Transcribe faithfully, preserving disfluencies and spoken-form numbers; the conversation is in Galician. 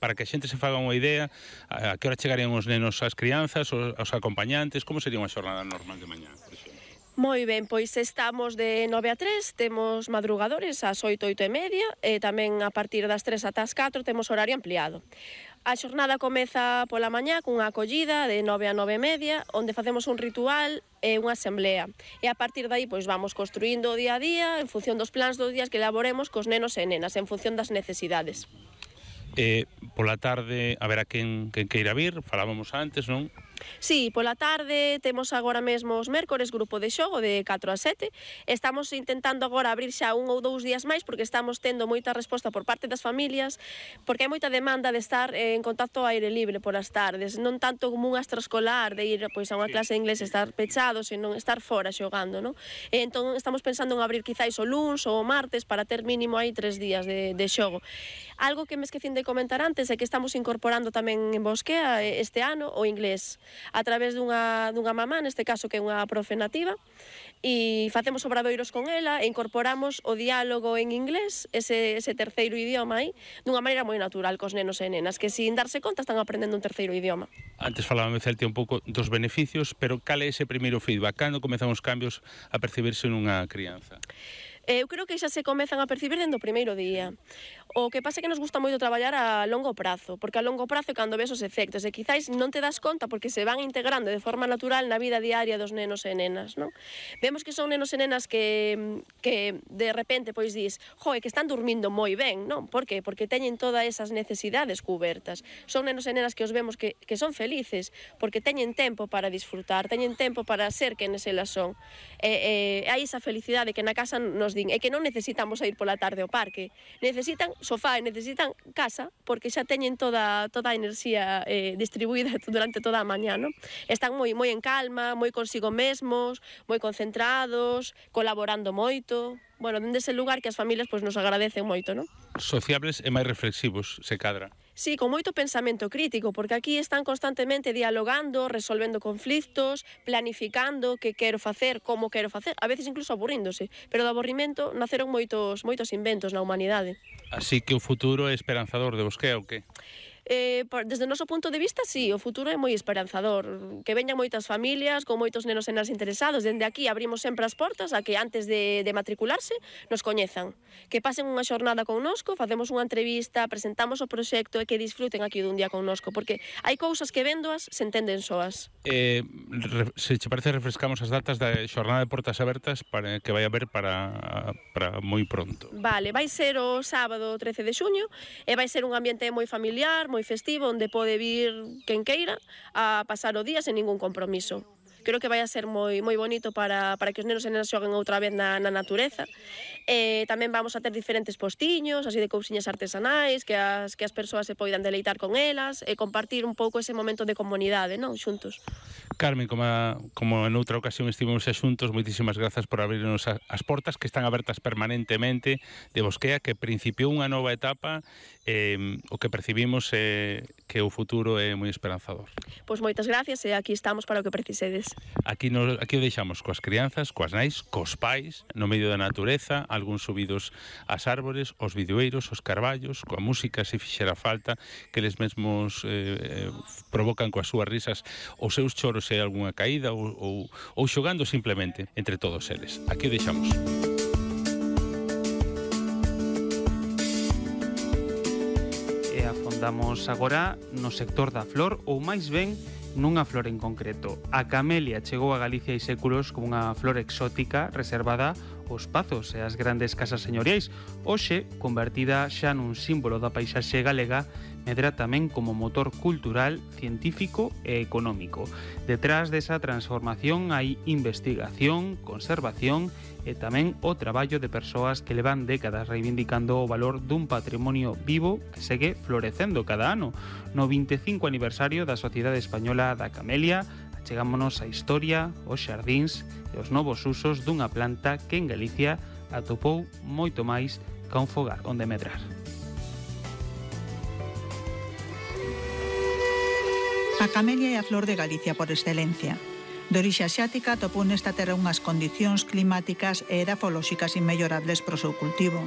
para que a xente se faga unha idea, a que hora chegarían os nenos ás crianzas, os, os acompañantes, como sería unha xornada normal de mañá, por exemplo? Moi ben, pois estamos de nove a tres, temos madrugadores ás oito, oito e media, e tamén a partir das tres ata as catro temos horario ampliado. A xornada comeza pola mañá cunha acollida de nove a nove e media, onde facemos un ritual e unha asamblea. E a partir de aí, pois vamos construindo o día a día en función dos plans dos días que elaboremos cos nenos e nenas, en función das necesidades. E pola tarde, a ver a quen, quen queira vir, falábamos antes, non? Sí, pola tarde temos agora mesmo os mércores grupo de xogo de catro a sete. Estamos intentando agora abrir xa un ou dous días máis porque estamos tendo moita resposta por parte das familias, porque hai moita demanda de estar en contacto ao aire libre polas tardes, non tanto como un extraescolar de ir pois a unha clase de inglés e estar pechado, senón estar fora xogando, non? E entón estamos pensando en abrir quizáis o luns ou o martes para ter mínimo aí tres días de, de xogo. Algo que me esquecín de comentar antes é que estamos incorporando tamén en Bosquea este ano o inglés a través dunha, dunha mamá, neste caso que é unha profe nativa, e facemos obradoiros con ela e incorporamos o diálogo en inglés, ese, ese terceiro idioma aí, dunha maneira moi natural cos nenos e nenas, que sin darse conta están aprendendo un terceiro idioma. Antes falábame, Celtia, un pouco dos beneficios, pero cal é ese primeiro feedback? Cando comezan os cambios a percibirse nunha crianza? Eu creo que xa se comezan a percibir dende o primeiro día. O que pasa é que nos gusta moito traballar a longo prazo, porque a longo prazo é cando ves os efectos, e quizáis non te das conta porque se van integrando de forma natural na vida diaria dos nenos e nenas, non? Vemos que son nenos e nenas que, que de repente pois dis, joe, que están dormindo moi ben, non? Por que? Porque teñen todas esas necesidades cubertas. Son nenos e nenas que os vemos que, que son felices, porque teñen tempo para disfrutar, teñen tempo para ser quenes elas son. E, e hai esa felicidade que na casa nos din, é que non necesitamos ir pola tarde ao parque, necesitan sofá e necesitan casa, porque xa teñen toda, toda a enerxía eh, distribuída durante toda a mañá, non? Están moi, moi en calma, moi consigo mesmos, moi concentrados, colaborando moito. Bueno, dende ese lugar que as familias pois, nos agradecen moito, non? Sociables e máis reflexivos, se cadra. Sí, con moito pensamento crítico, porque aquí están constantemente dialogando, resolvendo conflitos, planificando que quero facer, como quero facer, a veces incluso aburríndose, pero do aburrimento naceron moitos, moitos inventos na humanidade. Así que o futuro é esperanzador de Bosquea, ou que? Eh, desde o noso punto de vista, sí, o futuro é moi esperanzador. Que veñan moitas familias, con moitos nenos e nenas interesados. Dende aquí abrimos sempre as portas a que antes de, de matricularse nos coñezan. Que pasen unha xornada connosco, facemos unha entrevista, presentamos o proxecto e que disfruten aquí dun día connosco, porque hai cousas que véndoas se entenden soas. Eh, se che parece, refrescamos as datas da xornada de portas abertas para que vai haber para, para moi pronto. Vale, vai ser o sábado trece de xuño e vai ser un ambiente moi familiar, moi festivo, onde pode vir quen queira a pasar o día sen ningún compromiso. Creo que vai a ser moi moi bonito para, para que os nenos e nenas xoguen outra vez na, na natureza. E tamén vamos a ter diferentes postiños, así de cousiñas artesanais, que as, que as persoas se poidan deleitar con elas e compartir un pouco ese momento de comunidade, non? Xuntos. Carmen, como, a, como en outra ocasión estivemos xa xuntos, moitísimas grazas por abrirnos a, as portas que están abertas permanentemente de Bosquea, que principiou unha nova etapa, eh, o que percibimos é eh, que o futuro é moi esperanzador. Pois moitas gracias e aquí estamos para o que precisedes. Aquí, no, aquí o deixamos coas crianzas, coas nais, cos pais, no medio da natureza, algúns subidos ás árbores, os videoeiros, os carballos, coa música, se fixera falta, que eles mesmos eh, provocan coas súas risas os seus choros e algunha caída ou, ou, ou xogando simplemente entre todos eles. Aquí o deixamos. E afondamos agora no sector da flor, ou máis ben nunha flor en concreto. A camelia chegou a Galicia hai séculos como unha flor exótica reservada aos pazos e ás grandes casas señoriais. Hoxe, convertida xa nun símbolo da paisaxe galega, medra tamén como motor cultural, científico e económico. Detrás desa transformación hai investigación, conservación e tamén o traballo de persoas que levan décadas reivindicando o valor dun patrimonio vivo que segue florecendo cada ano. No vinte e cinco aniversario da Sociedade Española da Camelia, achegámonos á historia, os xardíns e os novos usos dunha planta que en Galicia atopou moito máis que un fogar onde medrar. A camelia é a flor de Galicia por excelencia. De orixe asiática, atopou nesta terra unhas condicións climáticas e edafolóxicas inmellorables para o seu cultivo.